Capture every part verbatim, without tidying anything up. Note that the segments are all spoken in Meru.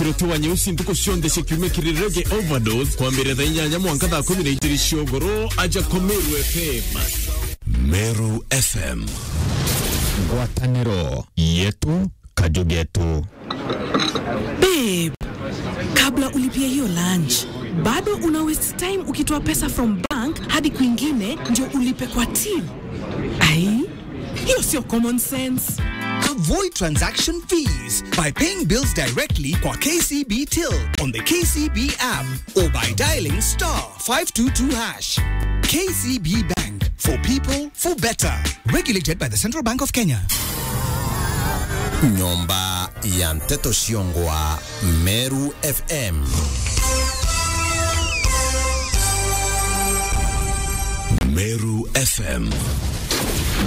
Ruti wa nyeusi ntuku cionthe cia kiumia kiri Reggae Overdose, kwambiriria thaa inyanya mwanka thaa kumi na ijiri cia ugoro, aja kwa Meru F M. Meru F M. Ngwataniro yetu, kaju getu. Babe, kabla ulipie hiyo lunch, bado una waste time ukitoa pesa from bank hadi kwingine ndio ulipe kwa till. Ai, hiyo sio common sense. Avoid transaction fees by paying bills directly kwa K C B Till on the K C B app or by dialing star five two two hash. K C B Bank, for people, for better. Regulated by the Central Bank of Kenya. Nyomba ya nteto ciongwa Meru F M. Meru F M.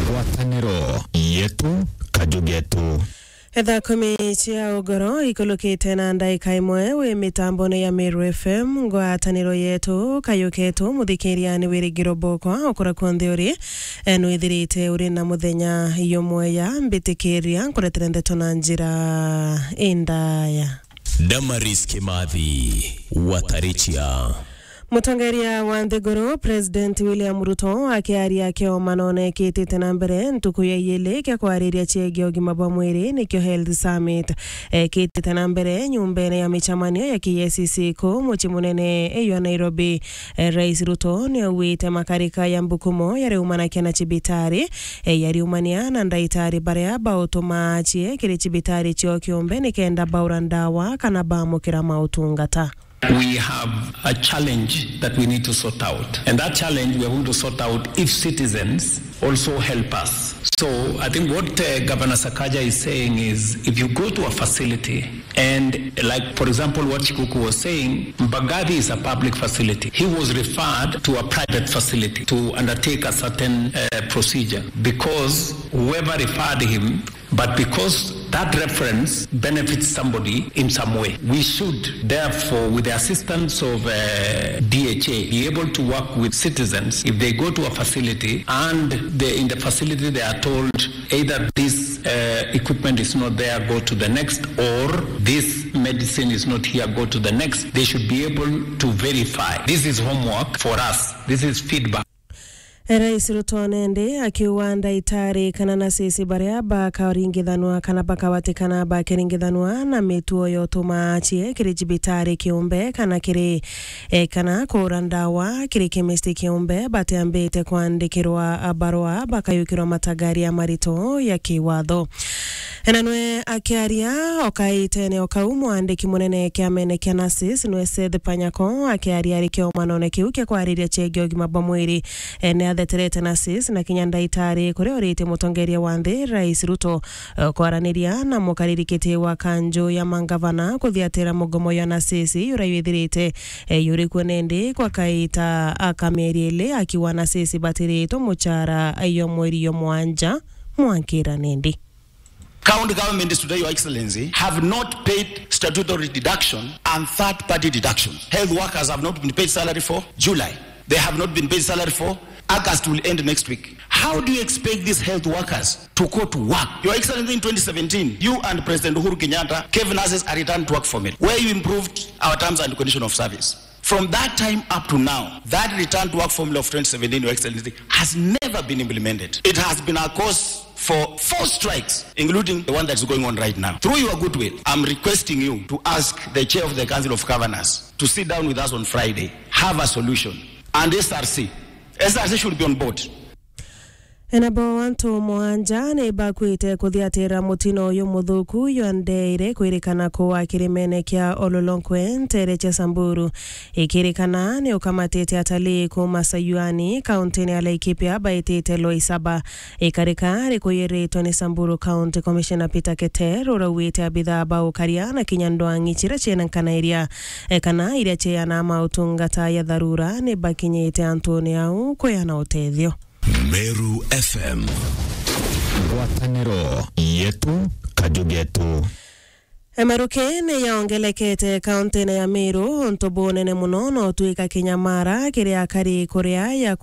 Ngwataniro yetu, kaju getu. Thaa kumi cia ugoro ikulukite na ndaika imwe wi mitambone ya Meru F M, ngwataniro yetu, kayu ketu, muthikiria ni wirigiro bokwa, ukura kuonthe uri, e, nwithirite uri na muthenya yumweya, mbitikiria nkuretere ndeto na njira indaya. Damaris Kimathi, Watarichia. Mutongeria wa nthiguru, President William Ruto, akiaria kiomanone kitite na mbere ntuku ya iili kia kwariria ciegii ugima bwa mwiri, nikio Health Summit, ekitite na mbere nyumbene ya micemanio ya K I C C ku mucii munene iyo Nairobi. Eh, Rais Ruto niaugite makarika ya mbukumo yariumanakia na cibitari, eh, yariumania na ndaitari baria bautumaa acie kiri cibitari cio kiumbe nikenda baura ndawa kana bamukira mautungata. We have a challenge that we need to sort out. And that challenge we are going to sort out if citizens also help us. So I think what, uh, Governor Sakaja is saying is, if you go to a facility, and like, for example, what Chikuku was saying, Mbagathi is a public facility. He was referred to a private facility to undertake a certain, uh, procedure because whoever referred him But because that reference benefits somebody in some way, we should, therefore, with the assistance of, uh, D H A, be able to work with citizens if they go to a facility and they, in the facility they are told either this, uh, equipment is not there, go to the next, or this medicine is not here, go to the next. They should be able to verify. This is homework for us. This is feedback. Rais Ruto nende akiuga ndaitari kana nasisi baria bakaringithanwa kana bakawatikana bakiringithanwa na mituo yotuma acie kiri cibitari kiumbe kana kiri, eh, kana kuura ndawa kiri chemist kiumbe batiambite kwandikirwa barua bakayukirwa matagaria marito ya kiwatho. Na nwe akiaria o kaitene o kau, mwandiki munene kiamene kia nurses nwe Seth Panyako akiaria ari kiomanone kiu kia kwariria ciegii ugima bwa mwiri, e, ni atheterete nurses na kinya ndaitari kuria oritie mutongeria wa nthi Rais Ruto, e, kwaraniria na mukariri kiti wa kanju ya mangavana kuthiatira mugomo ya nurses uria withirite, e, yuri kuo nindi kwa kaita aka mieri ili akiuga nurses batiritwe muchara yo mweri yo mwanja mwankira nindi. County governments today, Your Excellency, have not paid statutory deduction and third-party deductions. Health workers have not been paid salary for July. They have not been paid salary for August, will end next week. How do you expect these health workers to go to work? Your Excellency, in twenty seventeen, you and President Uhuru Kenyatta gave nurses a return to work formula, where you improved our terms and condition of service. From that time up to now, that return to work formula of twenty seventeen, Your Excellency, has never been implemented. It has been a cause for four strikes, including the one that's going on right now. Through your goodwill, I'm requesting you to ask the chair of the Council of Governors to sit down with us on Friday, have a solution, and S R C. S R C should be on board. Enabo antu mwanja ni bakwite kuthiatira mutino uyu muthuku yondeire kwirikana kuwa kirimene kia Ololonkwe ntere cia Samburu. Ikirikana ni ukamatite atalii kuma Sayuani, kauntini ya Laikipia, baitite Loisaba. Ikarika rikuyiritwe ni Samburu County Commissioner Peter Keter, urauite abithaa ba ukaria na kinya ndwang'i ciria ciina nkanairia, e, kana iria ciana mautungata ya tharura ni bakinyite antuni au kuyana utethio. Meru F M. Ngwataniro yetu, kaju getu. Emaruke ni yaongelekete kauntine ya Meru, untu bunene muno no twika kinyamara kiri akari kuria ya